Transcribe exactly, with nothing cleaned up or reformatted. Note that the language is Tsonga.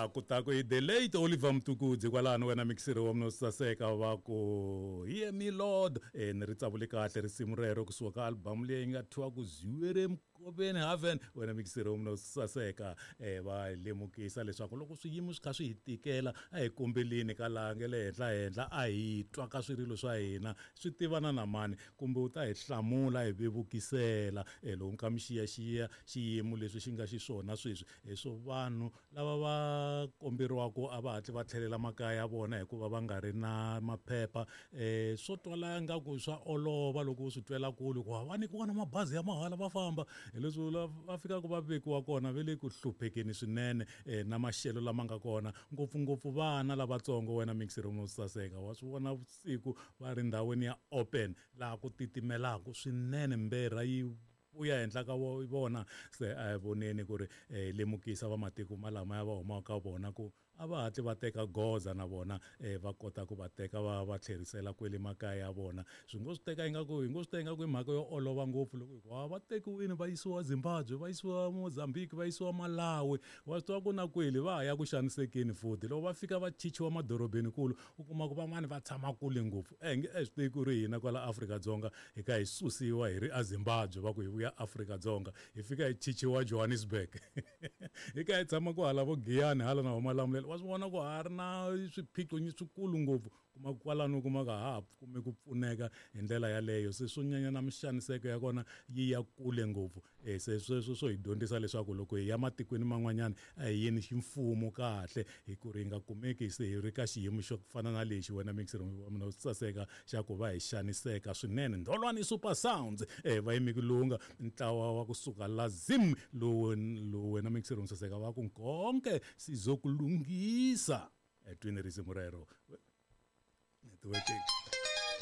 Kutaku i the late Oliver Mtukudzi kwalano wena mixiri wa mina saseka va ku hear me Lord. E ni ri tsavule kahle risimu rero kusuka ka album leyi nga thyiwa ku Ziwere Mkoveni Haven. Wena mixiri wa mina saseka e va lemukisa leswaku loko swiyimo swi kha swi hi tikela a hi kombeleni ka laha nge le henhla henhla a hi twa ka swirilo swa hina swi tivana na mani kumbe u ta hi hlamula hi vevukisela. E loko ka mi xiyaxiya xiyimo leswi xi nga xiswona sweswi hi swo vanhu lava va komberiwaka a va hatli va tlhelela makaya ya vona hikuva va nga ri na maphepha. um swo twala ingaku swa olova loko u swi twela kule ku va nyikiwa na mabazi ya mahala va famba, hi leswi va fikaka va vekiwa kona va le ku hluphekeni swinene um na maxelo lama nga kona ngopfungopfu vana lavatsongo. Wena mixer mo saseka wa swi vona vusiku va ri ndhawini ya open laha ku titimelaka swinene mberha yi vuya henhla ka vona. Se a hi voneni ku ri um lemukisa vamatiko malama ya va humaka ka vona ku a va hatli va teka goza na vona um va kota ku va teka va va tlherisela kwele makaya ya vona. Swi ngo swi teka ingaku hi ngo swi teka ingaku i mhaka yo olova ngopfu loko hi ku a va tekiwini va yisiwa Zimbabwe, va yisiwa Mozambique, va yisiwa Malawi, wa swi tiva ku na kwele va ha ya ku xanisekeni futhi. Loko va fika va chichiwa madorobeni kulu u kuma ku van'wani va tshama kule ngopfu. E nge e swi tivi ku ri hina kwala Afrika-Dzonga hi kha hi susiwa hi ri eZimbabwe va ku hi vuya Afrika-Dzonga hi fika hi chichiwa Johannesburg hi kha hi tshama ku hala vo Giyani hala na Malamulele, wa swi vona ku ha ri na swiphiqo swikulu ngopfu kuma kwalano u kuma ka ha ha kumi ku pfuneka hi ndlela yaleyo. Se swo nyanya na mixaniseko ya kona yi ya kule ngopfu. um se sweswo swo hi dyondzisa leswaku loko hi ya matikweni man'wanyana a hi yeni ximfumo kahle hi ku ri hi nga kumeki se hi ri ka xiyimo xo fana na lexi wena mixer wa mina u saseka xa ku va hi xaniseka swinene. Ndholwani Super Sounds um va yime ku lunga ntlawa wa kusuka la Zim lowu lowu wena mixer saseka va ku nkonke sizokulungisa. Twini risimu rero networking.